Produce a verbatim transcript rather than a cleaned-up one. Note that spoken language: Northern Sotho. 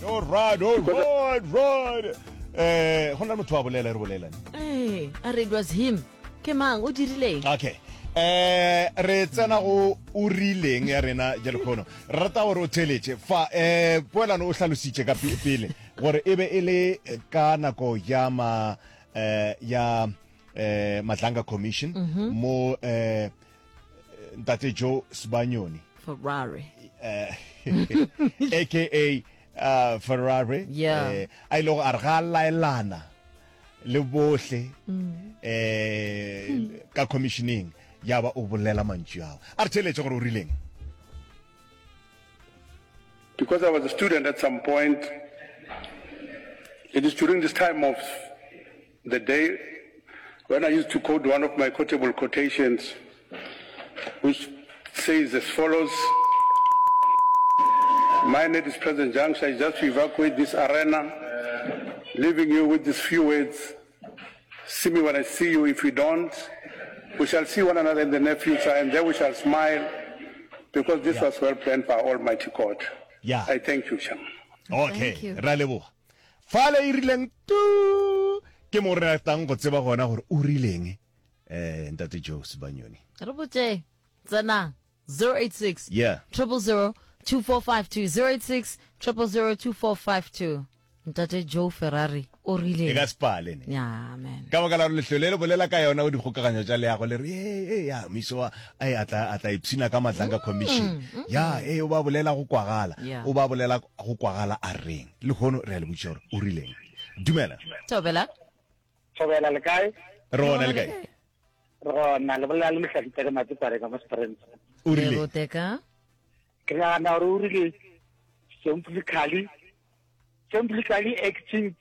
All right, all right, right. Eh, go na le motho wa bolela re bolela. Ee, a re it was him. Ke mang o dirileng? Okay. Eh, re tsena go o rileng ya rena ja lekgono. Re rata gore o theletše fa eh poelano o hlalositše ka pele gore e be e le ka nako ya ma eh ya eh Madlanga Commission mm-hmm. mo eh ntate Joe Sibanyoni Ferrari eh aka uh, Ferrari yeah. eh, a ile go a re ga laelana le bohle mm. eh mm. ka commissioning ya ba o bolela mantšu ao a re theletše gore o rileng because I was a student at some point it is during this time of the day when I used to quote one of my quotable quotations which says as follows Mine at this present juncture is just to evacuate this arena, leaving you with these few words. See me when I see you. If you don't, we shall see one another in the near future, and there we shall smile, because this yeah. was well planned by Almighty God. Yeah. I thank you, Chairman. Okay. Ra leboga. Fale e rileng tu ke mo re ratang go tseba gona gore o rileng eh ntate Joe Sibanyoni. Re botse tsena zero eight six Yeah. triple zero two four five two zero eight six triple zero two four five two. Ntate Joe Ferrari o E rile ka sepale ne. ya man. Ka baka la gore lehlole le bolela ka yona go dikgokaganyo tša leago le re ee ya miso wa ai a tla a tla ipshina ka Madlanga Commission. Ya ee o ba bolela go kwagala. Yeah. O ba bolela go kwagala a reng. Lehono re a le botšiša gore o rileng. Dumela. Thobela. Thobela le kae? Re gona le kae? Re gona le bolela le mohlahli ka Matipare ka mo Springs. O rile. Roteka. Ke nagana gore o rile simply simply acting